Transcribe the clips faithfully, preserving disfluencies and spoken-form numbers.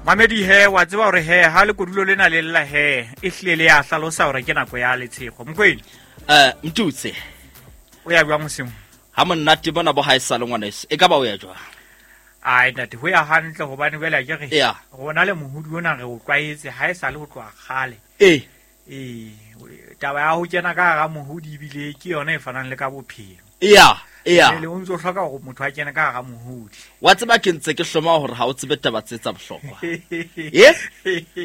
Mamedi he wa tseba hore he ha le kodulo lena le lla he e hlile le ya hlalosa hore ke nako ya Letshego. Mokwena. Eh Mtutse. O ya jwang mosimo? Ha monate bona bo ha e sa le ngwaneso. E ka ba o ya jwang? Ai ntate ho ya hantle hobane jwale ke re rona le mohudi ona re o tlwaetse ha e sa le ho tloha kgale. Eh. Eh taba ya ho kena ka hara mohudi ebile ke yona e fanang le ka bophelo. Yeah. Yeah. Le o ntso hloka hore motho a kene ka hara mohudi. Wa tseba ke ntse ke hloma hore ha o tsebe taba tse tsa bohlokwa. Eh?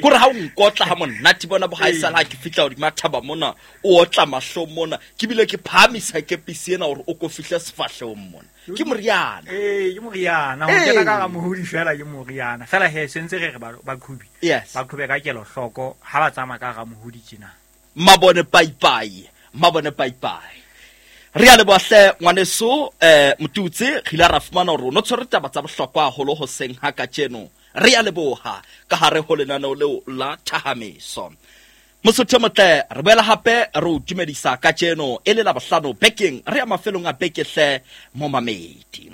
Kore ha o nkotla ha monate bona bo ha e sala ke fihla hodima thaba mona, o otla mahlo mona, ke bile ke phahamisa kepisi ena hore o ko fihle sefahlehong mona. Ke moriana. Eh, ke moriana. Ho kena ka hara mohudi fela ke moriana. Fela he sentse re re ba qhubi. Ba qhube ka kelohloko ha ba tsamaya ka hara mohudi tjena. Mabone paipai, mabone paipai. Re a leboha hle ngwaneso eh Motutsi re ile ra fumana hore o tshwere taba tsa bohlokwa haholo hoseng ha kajeno. Re a leboha ka hare ho lenaneo leo la Thahameso. Mosotho motle re boela hape re o dumedisa kajeno e le la bohlano bekeng re ya mafelong a beke hle momamedi.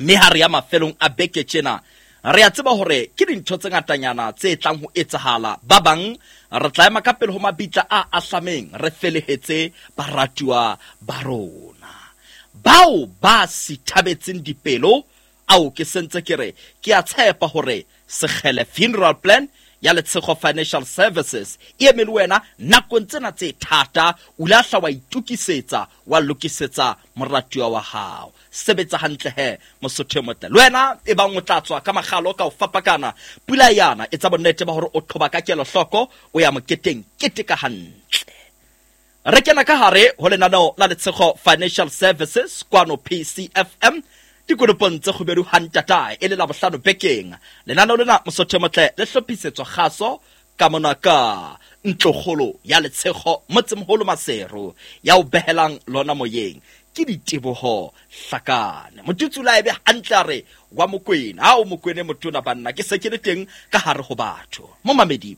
Mme ha re ya mafelong a beke tjena re a tseba hore ke dintho tse ngatanyana tse tlang ho etsahala. Ba bang re tla ema ka pele ho mabitla a ahlameng re felehetse baratuwa ba rona. Bao ba sithabetseng dipelo ao ke sentse ke re ke a tshepa hore Sekgele Funeral Plan ya Letshego Financial Services e eme le wena nakong tsena tse thata, o ile a hla wa itokisetsa wa lokisetsa moratuwa wa hao. Sebetsa hantle he Mosotho motle. Le wena e bang o tla tswa ka makgalo ka o fapakana pula yana etsa bonnete ba hore o qhoba ka kelohloko o ya moketeng keteka hantle. Re kena ka hare ho lenaneo la Letshego Financial Services kwano P C F M dikonopong tse kgubedu hantatae e le la bohlano bekeng. Lenaneo lena Mosotho motle le hlophisetswa kgaso ka mona ka ntlokgolo ya Letshego motsemoholo Maseru ya o behelang lona moyeng ke diteboho hlakane. Motutsi la ebe hantle a re wa Mokwena, ha o Mokwene motona banna ke se ke le teng ka hare ho batho. Momamedi,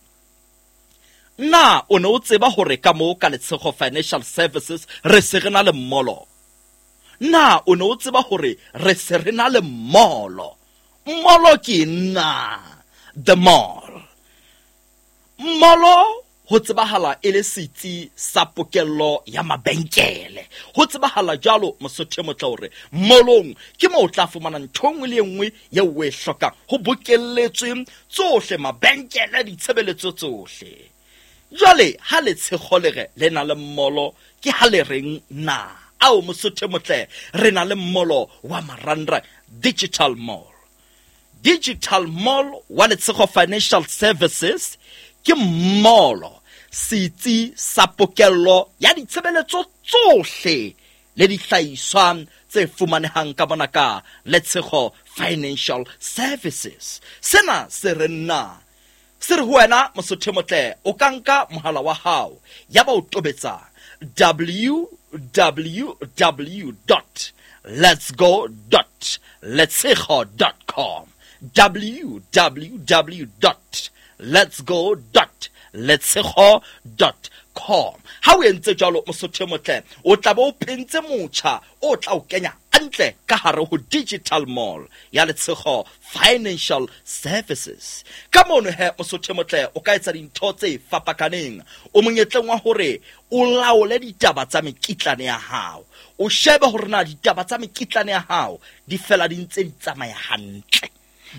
na o ne o tseba hore ka moo ka Letshego Financial Services re se re na le mmolo? Na o ne o tseba hore re se re na le mmolo? Mmolo ke nna the mall. Mmolo ho tsebahala e le setsi sa pokello ya mabenkele. Ho tsebahala jwalo Mosotho motle hore mmolong ke moo o tla fumana ntho e nngwe le e nngwe eo o e hlokang. Ho bokelletswe tsohle mabenkele ditshebeletso tsohle. Jwale ha Letshego le re le na le mmolo ke ha le reng na? Ao Mosotho motle re na le mmolo wa Marandra Digital Mall. Digital Mall wa Letshego Financial Services ke mmolo setsi sa pokello ya ditshebeletso tsohle le dihlahiswa tse fumanehang ka mona ka Letshego Financial Services. Sena se re nna se re ho wena Mosotho motle o ka nka mohala wa hao ya ba o tobetsa w w w dot lets go dot letshego dot com w w w dot lets go dot letshego dot com. Ha o entse jwalo Mosotho motle o tla ba o phentse motjha o tla o kenya hantle ka hare ho Digital Mall ya Letshego Financial Services. Ka mono he Mosotho motle o ka etsa dintho tse fapakaneng. O monyetleng wa hore o laole ditaba tsa mekitlane ya hao. O shebe hore na ditaba tsa mekitlane ya hao di fela di ntse di tsamaya hantle.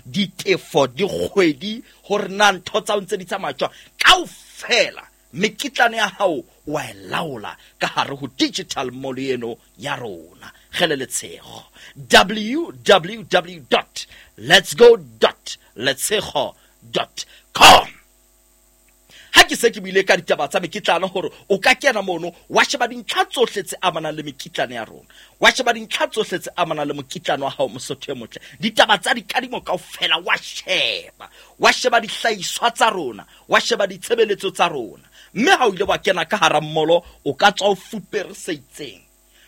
Ditefo dikgwedi hore na ntho tsa ntse di tsamaya jwang kaofela mekitlane ya hao wa e laola ka hare ho Digital Mall eno ya rona. Kgele Letshego w w w dot lets go dot letshego dot com. Ha ke se ke buile ka ditaba tsa mekitlane hore o ka kena mono wa sheba dintlha tsohle tse amanang le mekitlane ya rona, wa sheba dintlha tsohle tse amanang le mokitlane wa hao Mosotho e motle, ditaba tsa dikadimo kaofela wa sheba, wa sheba dihlahiswa tsa rona, wa sheba ditshebeletso tsa rona. Mme ha o ile wa kena ka hara mmolo o ka tswa o fupere se itseng.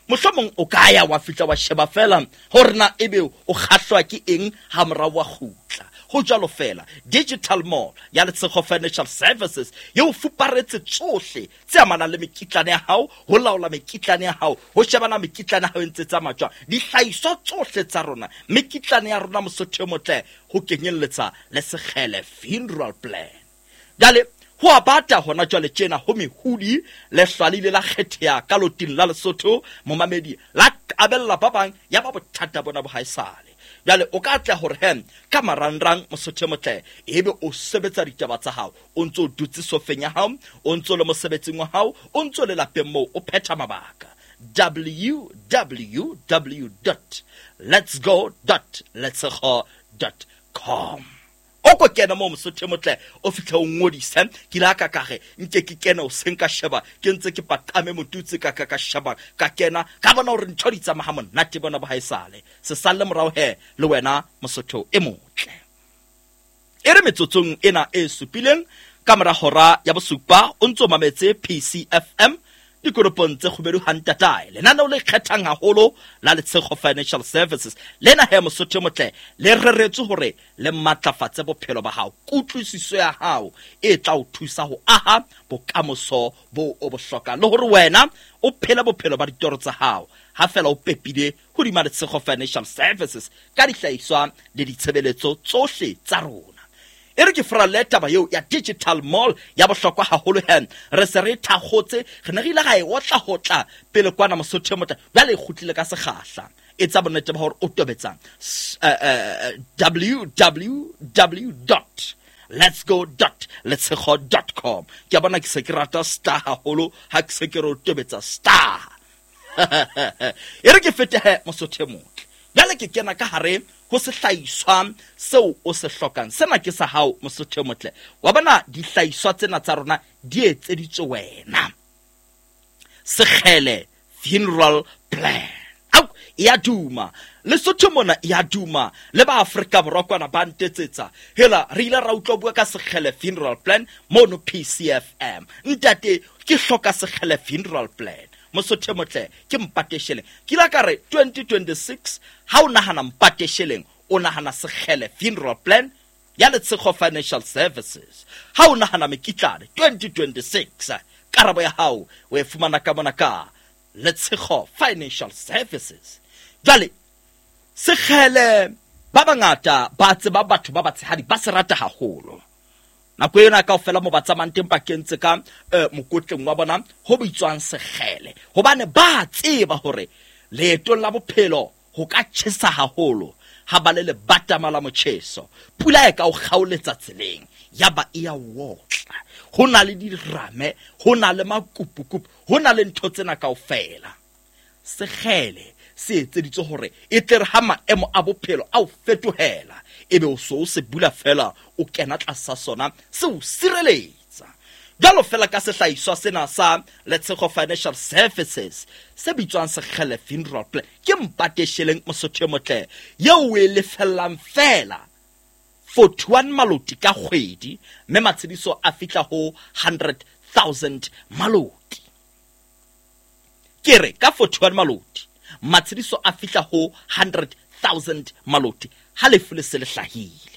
Mohlomong o ka ya wa fihla wa sheba fela hore na ebe o kgahlwa ke eng ha morao wa kgutla. Ho jwalo fela Digital Mall ya Letshego Financial Services e o fuparetse tsohle tse amanang le mekitlane ya hao, ho laola mekitlane ya hao, ho shebana mekitlane ya hao e ntse tsamaya jwang, dihlahiswa tsohle tsa rona, mekitlane ya rona Mosotho e motle, ho kenyelletsa le Sekgele Funeral Plan. Jwale ho a bata hona jwale tjena ho mehudi lehlwa le ile la kgetheha ka loting la Lesotho, momamedi la abella ba bang ya ba bothata bona bo haesale. Jwale o ka tla hore he ka marangrang Mosotho e motle ebe o sebetsa ditaba tsa hao, o ntso o dutse sofeng ya hao, o ntso le mosebetsing wa hao, o ntso le lapeng moo o phetha mabaka. w w w dot letsgo dot letshego dot com. O ko kena moo Mosotho e motle o fihle o ngodise. Ke ile ka ka re nke ke kene o seng ka sheba, ke ntse ke paqame motutse ka ka ka sheba, ka kena ka bona hore ntho di tsamaya ha monate bona bo haesale. Se salle morao he le wena Mosotho e motle. E re metsotsong ena e supileng ka mora hora ya bosupa o ntso mametse P C F M dikoropong tse kgubedu hantatae, lenaneo le kgethang haholo la Letshego Financial Services. Lena he Mosotho e motle le reretswe hore le matlafatse bophelo ba hao, kutlwisiso ya hao e tla o thusa ho aha bokamoso bo o bo hlokang, le hore wena o phele bophelo ba ditoro tsa hao ha fela o pepile hodima Letshego Financial Services ka dihlahiswa le ditshebeletso tsohle tsa rona. E re ke furalle taba eo ya Digital Mall ya bohlokwa haholo he re se re thakgotse, re ne re ile ra e otla hotla pele kwana Mosotho e motle, jwale e kgutlile ka sekgahla. Etsa bonnete ba hore o tobetsa w w w dot letsgo dot letshego dot com. Ke a bona ke se ke rata star haholo ha ke se ke re o tobetsa star. E re ke fete he Mosotho e motle, jwale ke kena ka hare ho sehlahiswa seo o se hlokang. Sena ke sa hao Mosotho e motle. Wa bona dihlahiswa tsena tsa rona di etseditswe wena. Sekgele Funeral Plan. Au, ya duma. Lesotho mona ya duma. Le ba Afrika Borwa kwana ba ntetsetsa. Hela re ile ra utlwa bua ka Sekgele Funeral Plan mono P C F M. Ntate ke hloka Sekgele Funeral Plan. Mosotho e motle ke mpate sheleng. Ke ile ka re twenty twenty-six ha o nahana mpate sheleng, o nahana Sekgele Funeral Plan ya Letshego Financial Services. Ha o nahana mekitlane twenty twenty-six, karabo ya hao o e fumana ka mona ka Letshego Financial Services. Jwale Sekgele ba bangata ba tseba batho ba batshehadi ba se rata haholo. Nako ena kaofela mo ba tsamayang teng ba kentse ka eh, mokotleng wa bona ho bitswang Sekgele, hobane ba tseba hore leetong la bophelo ho ka tjhesa haholo ha ba le lebatama la motjheso, pula e ka o kgaoletsa tseleng ya ba e ya wotla. Ho na le dirame, ho na le makupukupu, ho na le ntho tsena kaofela. Sekgele se etseditswe hore e tle re ha maemo a bophelo a o fetohela, ebe o so o se bula fela o kena tlasa sona se o sireletsa. Jwalo fela ka sehlahiswa sena sa Letshego Financial Services se bitswang Sekgele Funeral Plan, ke mpate sheleng Mosotho e motle eo o e lefellang fela forty-one maloti ka kgwedi, mme matshediso a fihla ho hundred thousand maloti. Ke re ka forty-one maloti matshediso a fihla ho hundred thousand maloti ha lefu le se le hlahile.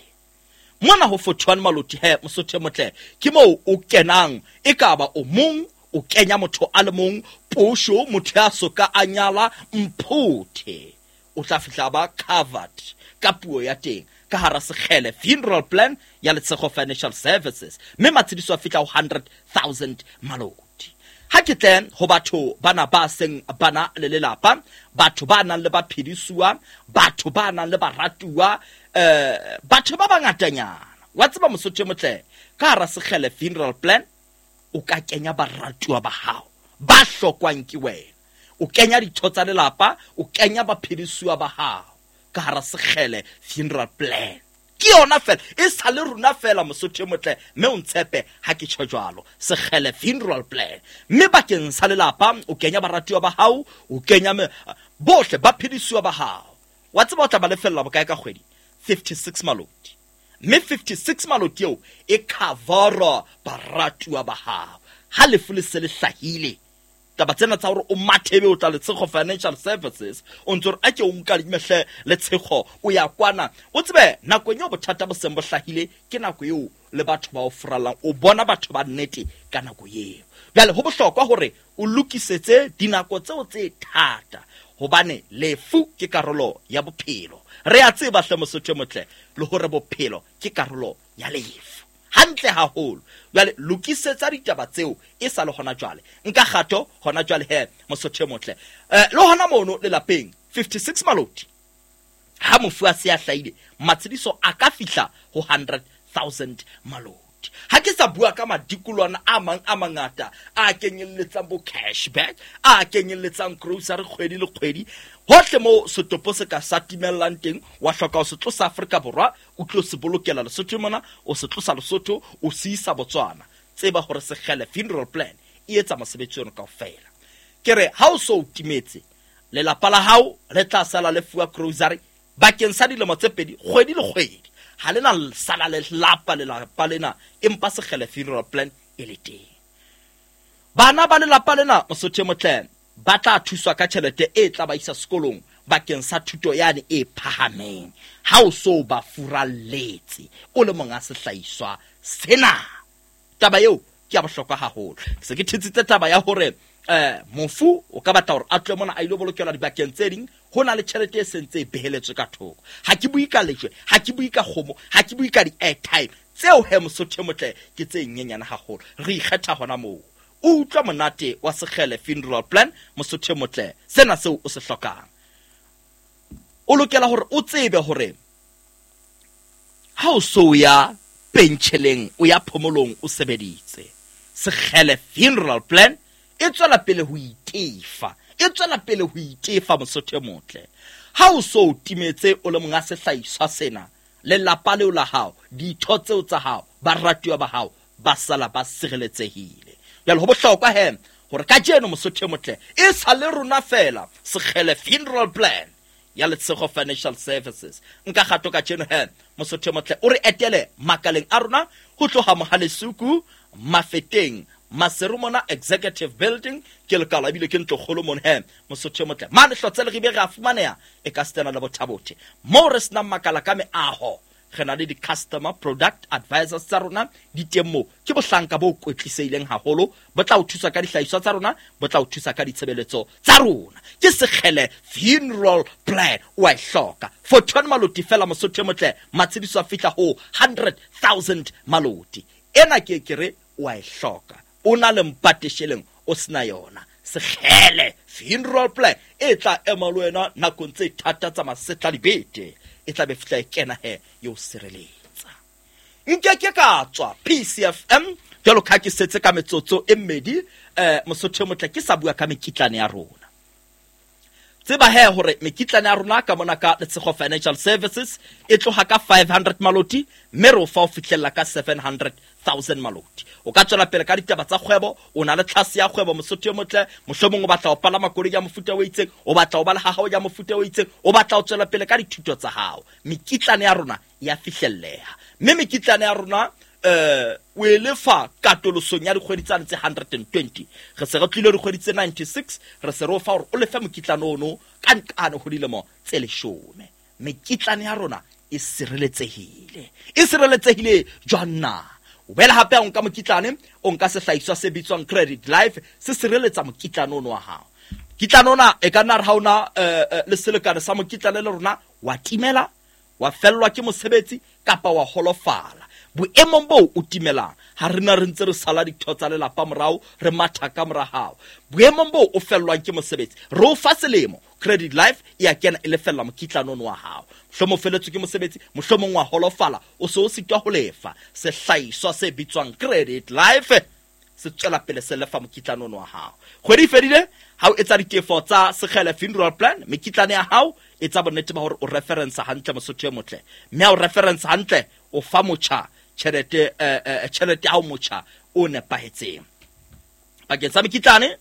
Mona ho forty-one maloti he Mosotho e motle ke moo o kenang, e ka ba o mong o kenya motho a le mong, posho motho ya soka a nyala mphothe, o tla fihla ba covered ka puo ya teng ka hara Sekgele Funeral Plan ya Letshego Financial Services, mme matshediso a fihla ho hundred thousand maloti. Ha ke tle ho batho bana ba seng bana le lelapa, batho ba nang le baphedisuwa, batho ba nang le baratuwa, eh batho ba bangatanyana. Wa tseba Mosotho e motle, ka hara Sekgele Funeral Plan o ka kenya baratuwa ba hao ba hlokwang ke wena, o kenya ditho tsa lelapa, o kenya baphedisuwa ba hao ka hara Sekgele Funeral Plan. Ke yona fela, e sa le rona fela Mosotho e motle, mme o ntshepe ha ke tjho jwalo. Sekgele Funeral Plan, mme bakeng sa lelapa o kenya baratuwa ba hao, o kenya bohle ba phedisuwa ba hao. Wa tseba o tla ba lefella bokae ka kgwedi? fifty-six maloti. Mme fifty-six maloti eo e covera baratuwa ba hao ha lefu le se le hlahile. Taba tsena tsa hore o mathebe o tla Letshego Financial Services, o ntse re a ke o nkadime hle Letshego o ya kwana. O tsebe nakong eo bothata bo seng bo hlahile ke nako eo le batho ba o furallang, o bona batho ba nnete ka nako eo. Jwale ho bohlokwa hore o lokisetse dinako tseo tse thata, hobane lefu ke karolo ya bophelo. Re a tseba hle Mosotho motle le hore bophelo ke karolo ya lefu. Hantle haholo. Jwale lokisetsa ditaba tseo e sa le hona jwale. Nka kgato hona jwale he Mosotho motle. Eh le hona mono lelapeng fifty-six maloti. Ha mofu a se a hlahile, matshediso a ka fihla ho hundred thousand maloti. Ha ke sa bua ka madikolwana a mang a mangata a kenyelletsang bo cashback, a kenyelletsang grocery kgwedi le kgwedi. Hohle mo setopo se ka sa timellang teng, wa hloka ho se tlosa Afrika Borwa, o tlo se bolokela Lesotho mona, o se tlosa Lesotho, o se isa Botswana. Tseba hore Sekgele Funeral Plan e etsa mosebetsi ono kaofela. Ke re ha o so o timetse, lelapa la hao le tla sala le fuwa grocery bakeng sa dilemo tse pedi kgwedi le kgwedi. Ha lena sala le lapa lelapa lena, empa Sekgele Funeral Plan e le teng. Bana ba lelapa lena Mosotho motle ba tla thuswa ka tjhelete e tla ba isa sekolong bakeng sa thuto yane e phahameng. Ha o so ba furalletse o le monga sehlahiswa sena. Taba eo ke ya bohlokwa haholo. Se ke thetsitse taba ya hore eh mofu o ka batla hore a tle mona a ile bolokelwa dibakeng tse ding, ho na le tjhelete e sentse e beheletswe ka thoko. Ha ke bue ka lejwe, ha ke bue ka kgomo, ha ke bue ka di-airtime tseo he Mosotho motle ke tse nyenyane haholo. Re ikgetha hona moo. O utlwa monate wa Sekgele Funeral Plan Mosotho motle, sena seo o se hlokang. O lokela hore o tsebe hore ha o so ya pentjheleng, o ya phomolong, o sebeditse, Sekgele Funeral Plan e tswela pele ho itefa, e tswela pele ho itefa Mosotho motle. Ha o so timetse o le monga sehlahiswa sena, lelapa leo la hao, ditho tseo tsa hao, baratuwa ba hao ba sala ba sireletsehile. Jwale ho bohlokwa he hore kajeno Mosotho motle e sa le rona fela Sekgele Funeral Plan ya Letshego Financial Services. Nka kgato kajeno he Mosotho motle o re etele makaleng a rona ho tloha Mohalesuku, Mafeteng, Maseru mona Executive Building, ke lekala ebile ke ntlokgolo mona he Mosotho motle. Mane hlotse le ribe re a fumaneha e ka stena le Bothabote. Moo re senang makala ka meaho, re na le di-customer product advisors tsa rona di teng moo. Ke bohlanka bo kwetlisehileng haholo, bo tla o thusa ka dihlahiswa tsa rona, bo tla o thusa ka ditshebeletso tsa rona. Ke Sekgele Funeral Plan o a e hloka. Forty-one maloti fela Mosotho motle, matshediso a fihla ho hundred thousand maloti. Ena ke ke re o a e hloka. O na le mpatesheleng o sena yona. Sekgele Funeral Plan e tla ema le wena nakong tse thata tsa masetla dibete. E tla be fihla e kena he yo sireletsa. Nke ke ka tswa P C F M jwalo ka ke setse ka metsotso e mmedi eh Mosotho motle ke sa bua ka mekitlane ya rona. Tseba he hore mekitlane ya rona ka mona ka Letshego Financial Services e tloha ka five hundred maloti mme re o fa o fihlella ka seven hundred thousand maloti. O ka tswela pele ka ditaba tsa kgwebo, o na le tlhase ya kgwebo Mosotho motle, mohlomong o batla ho palama koloi ya mofuta o itseng, o batla ho ba le ha hao ya mofuta o itseng, o batla ho tswela pele ka dithuto tsa hao. Mekitlane ya rona ya fihlelleha. Mme mekitlane ya rona eh o e lefa katolosong ya dikgwedi tsane tse hundred and twenty. Re se re tlile dikgwedi tse ninety-six, re se re o fa hore o lefe mokitlane ono ka nqane ho dilemo tse leshome. Mekitlane ya rona e sireletsehile. E sireletsehile jwang na? O bela hape o nka mokitlane, o nka sehlahiswa se bitswang Credit Life, se sireletsa mokitlane ono wa hao. Kitlane ona e ka nna re ha ona le selekane sa mokitlane le rona, wa timela, wa fellwa ke mosebetsi kapa wa holofala. Boemong boo o timelang, ha rena re ntse re sala ditho tsa lelapa morao, re matha ka mora hao. Boemong boo o fellwang ke mosebetsi, re o fa selemo, Credit Life e a kena e lefella mokitlane ono wa hao. Mohlomong o felletswe ke mosebetsi, mohlomong wa holofala, o se o sitwa ho lefa. Sehlahiswa se bitswang Credit Life se tswela pele se lefa mokitlane ono wa hao. Kgwedi e fedile, ha o etsa ditefo tsa Sekgele Funeral Plan, mekitlane ya hao e tsa bonnete ba hore o reference hantle Mosotho e motle. Mme ha o reference hantle, o fa motjha tjhelete eh tjhelete ya hao motjha o nepahetseng. Bakeng sa mekitlane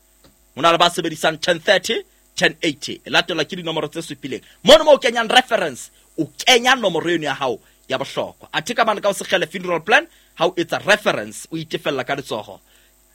ho na le ba sebedisang ten thirty, ten eighty. E latelwa ke dinomoro tse supileng. Mono mo o kenyang reference, o kenya nomoro eno ya hao ya bohlokwa. Athe ka mane ka ho Sekgele Funeral Plan, ha o etsa reference, o itefella ka letsoho.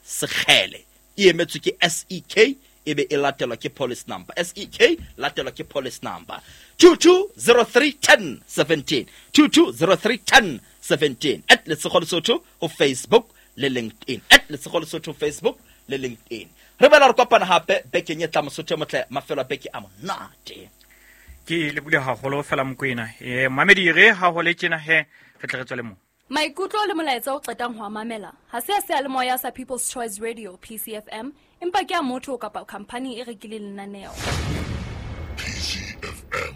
Sekgele e emetswe ke S E K, e be e latelwa ke police number. S E K latelwa ke police number. two two zero three ten seventeen. two two zero three ten seventeen. At Letshego Lesotho ho Facebook le LinkedIn. At Letshego Lesotho Facebook le LinkedIn. Re bela re kopana hape bekeng e tla Mosotho motle mafelo a beke a monate. Ke le bule haholo fela Mokoena. Eh mamedi re ha ho le tjena he re tle re tswele mo. Maikutlo le molaetsa o qetang ho mamela ha se a seyalemoya sa People's Choice Radio P C F M, empa ke a motho kapa company e rekileng lenaneo. P C F M,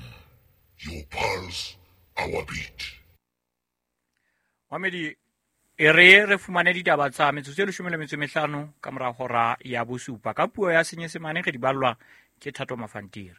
your pulse, our beat. Mamedi e re re fumane ditaba tsa metsotso e leshome le metso e mehlano ka mora hora ya bosupa ka puo ya Senyesemane re di ballwa ke Thato Mafantiri.